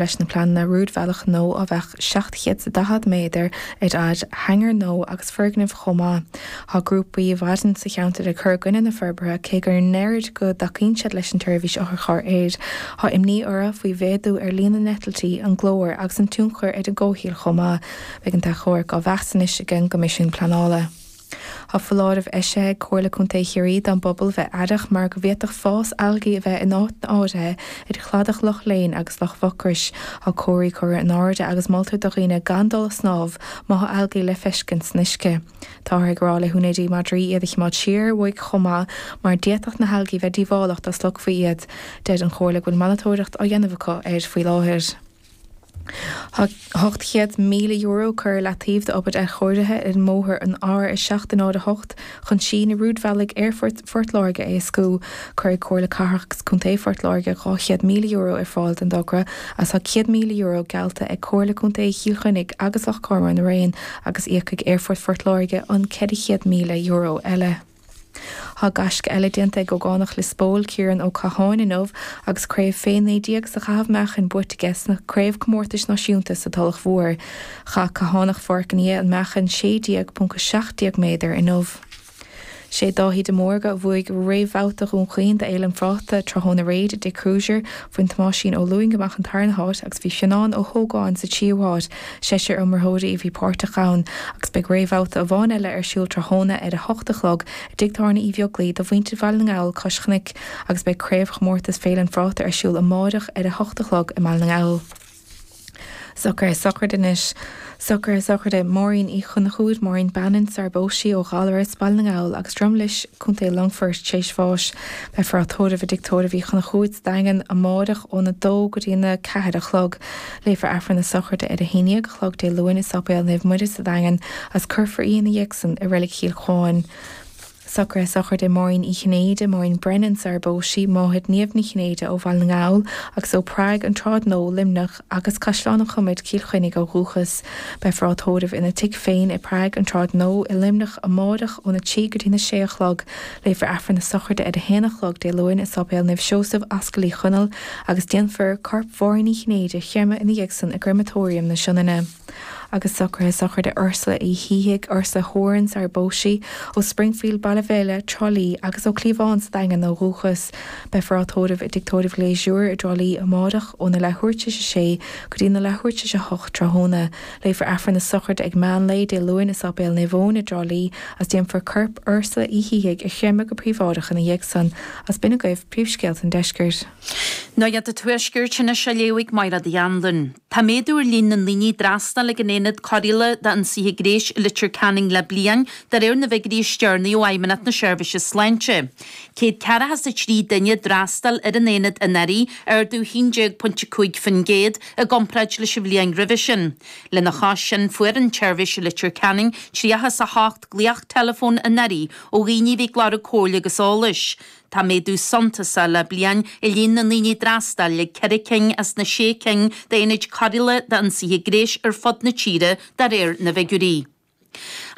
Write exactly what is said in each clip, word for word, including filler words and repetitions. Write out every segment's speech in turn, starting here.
Leis na pleananna rúidbhealach nua a bheadh seacht chéad is daichead méadar ar fhad, hangar nua agus foirgnimh chomh maith. Tá grúpaí i bhfad sa cheantar ag cur i gcoinne na forbartha cé go ndeirid go dtacaíonn siad leis an tseirbhís otharchairr aeir. Tá imní orthu faoi mhéadú ar líon na n-eitiltí, an glór agus an tionchar ar an gcomhshaol chomh maith. Beidh an t-achomharc á mheas anois ag an gCoimisiún Pleanála. Tá foláireamh eisithe ag Comhairle Contae Chiarraí don bpobal bheith aireach mar go bhféadfadh fás algaí a bheith in áiteanna áirithe ar chladach Loch Léin agus Loch Mhucrois. Tá comharthaí curtha in airde agus moltar do dhaoine gan dul ag snámh má tá algaí le feiscint san uisce. Táthar ag rá le húinéirí madraí iad a choimeád siar uaidh chomh maith mar d'fhéadfadh na halgaí bheith díobhálach dá slogfaí iad. Deir an Chomhairle go bhfuil monatóireacht á dhéanamh acu air faoi láthair. Tá ocht chéad míle euro curtha ar leataobh d'obair athchóirithe ar an mbóthar an R a seacht a náid a hocht chun síneadh rúidbhealaigh Aerfort Phort Láirge a éascú. Cuirfidh Comhairle Cathrach agus Contae Phort Láirge dhá chéad míle euro ar fáil don dtogra agus tá céad míle euro geallta ag Comhairle Contae Chill Chainnigh agus Loch Garman araon agus íocfaidh Aerfort Phort Láirge an ceithre chéad míle euro eile. Tá gaisce eile déanta ag ógánach Lios Póil, Ciarán Ó Catháin inniu agus craobh fé naoi déag sa chaitheamh meáchain buaite aige sna Craobhchomórtais Náisiúnta sa Tulach Mhór. Chaith Cathánach Pháirc an Fhia an meáchan sé déag ponc a seacht déag méadar inniu. Sé Dáithí de Mórdha a bhuaigh réamhbhabhta Dhún Chaoin d'Fhéile an Phráta tráthnóna aréir i dTigh Crozier. Bhain Tomáisín Ó Lúing amach an tarna háit agus bhí Fionán Ó hÓgáin sa tríú háit. Seisear iomaitheoirí a bhí páirteach ann agus beidh réamhbhabhta amháin eile ar siúl tráthnóna ar a hocht a chlog i dTigh Tábhairne Uí Bheaglaoi do mhuintir Bhaile na nGall, Cois Chnoic agus beidh craobhchomórtas Féile an Phráta ar siúl amárach ar a hocht a chlog i mBaile na nGall. Socruithe sochraide anois. Socruithe sochraide Máirín Uí Chonchúir, Máirín Bannon, sar bpós sí ó Ghallaras, Baile na nGall agus Drumlish, Contae Longfoirt, tar éis bháis. Beifear á tórramh i dTigh Tórraimh Uí Chonchúir sa Daingean amárach óna dó go dtí na ceathair a chlog. Léifear Aifreann na sochraide ar a haon déag a chlog Dé Luain i Sáipéal Naomh Muire sa Daingean agus cuirfear í ina dhiaidh san i Reilig Chill Chuáin. Socruithe sochraide Máirín Uí Chinnéide, Máirín Brennan sar bpós sí, máthair Niamh Ní Chinnéide ó Bhaile na nGall agus ó Prague, an tSráid Nua, Luimneach agus Caisleán an Chomaid, Cill Chainnigh ó dhúchas. Beifear á tórramh ina tigh féin i Prague, an tSráid Nua i Luimneach amárach óna trí go dtí na sé a chlog. Léifear Aifreann na sochraide ar a haon a chlog Dé Luain i Sáipéal Naomh Seosamh, Ascaill Uí Chonaill agus déanfar corp Mháirín Uí Chinnéide a chreimeadh ina dhiaidh san i gCreamatóiriam na Sionainne. Agus socruithe sochraide Ursula Uí Shíthigh, Ursula Horan sar bpós sí, ó Springfield, Baile Bhéile, Trá Lí agus ó Cliabhán sa Daingean ó dhúchas. Beifear á tórramh i dTigh Tórraimh Ghlésure i dTrá Lí amárach óna leathuair tar éis a sé go dtí na leathuair tar éis a hocht tráthnóna. Léifear Aifreann na sochraide ag meán lae Dé Luain i Sáipéal Naomh Eoin i dTrá Lí agus déanfar corp Ursula Uí Shíthigh a chreimeadh go príobháideach ina dhiaidh san. Agus b'in agaibh príomhscéalta an deiscirt. Nuacht an Tuaiscirt anois á léamh ag Máire Uí Anluain. Tá méadú ar líon na ndaoine ag d'fhreastal ag an Aonad Cóireála d'Ionsaithe Gnéis i Leitir Ceanainn le bliain, de réir na bhfigiúirí is deireanaí ó Fheidhmeannacht na Seirbhíse Sláinte. Céad ceathracha is a trí duine a d'fhreastail ar an aonad anuraidh, ardú haon déag pointe cúig faoin gcéad i gcomparáid leis an bhliain roimhe sin. Lena chois sin, fuair an tseirbhís i Leitir Ceanainn tríocha is a hocht glaoch teileafóin anuraidh ó dhaoine a bhí ag lorg comhairle agus eolais. Tá méadú suntasach le bliain i líon na ndaoine a d'fhreastail ag ceithre cinn as na sé cinn d'aonaid cóireála d'ionsaithe gnéis ar fud na tíre, de réir na bhfigiúirí.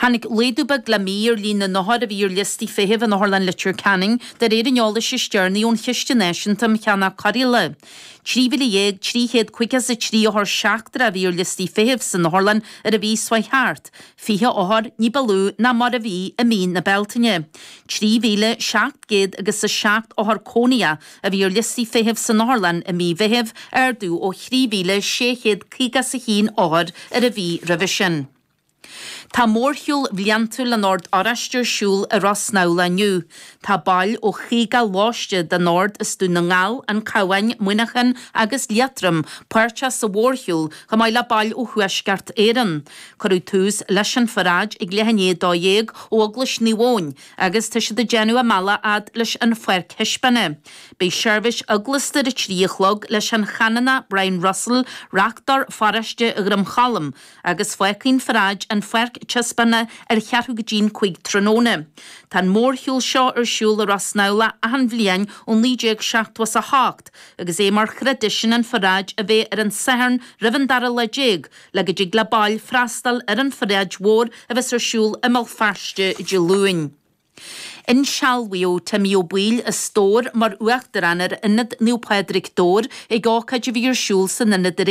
Tháinig laghdú beag le mí ar líon na n-othar a bhí ar liostaí feithimh in Otharlann Leitir Ceanainn, de réir an eolais is deireanaí ón Chiste Náisiúnta um Cheannach Cóireála. Trí mhíle dhéag trí chéad caoga is a trí othar seachtrach a bhí ar liostaí feithimh san otharlann ar an mhí seo chuaigh thart, fiche othar ní ba lú ná mar a bhí i mí na Bealtaine. Trí mhíle seacht gcéad agus a seacht othar cónaitheach a bhí ar liostaí feithimh san otharlann i mí Mheithimh, ardú ó thrí mhíle sé chéad caoga is a haon othar ar an mhí roimhe sin. Tá mórshiúl bhliantúil an Ord Oráistigh ar siúl i Ros Snamhla inniu. Tá baill ó chaoga lóiste den Ord as Dún na nGall, An Cabhán, Muineachán agus Liatroim páirteach sa mhórshiúl chomh maith le baill ó Thuaisceart Éireann. Cuireadh tús leis an pharáid ag leath i ndiaidh a dó dhéag ó Eaglais Naomh Eoin agus tá siad ag déanamh a mbealach fhad leis an pháirc thaispeána. Beidh seirbhís eaglasta ar a trí a chlog leis an Chanonach Brian Russell, Reachtaire Pharóiste Dhroim Cholm, agus fágfaidh an pharáid an pháirc taispeána ar cheathrú go dtí'n cúig tráthnóna. Tá an mórshiúl seo ar siúl i Ros Snamhla achan bhliain ó naoi déag seachtó is a hocht agus é mar thraidisiún an pharáid a bheith ar an Satharn roimh an dara lá déag le go dtig le baill freastal ar an pharáid mhór a bheas ar siúl i mBéal Feirste Dé Luain. Insealbhaíodh Timmy Ó Baoill as Dobhar mar uachtarán ar Ionad Naomh Pádraig Dobhair ag ócáid a bhí ar siúl san ionad aréir.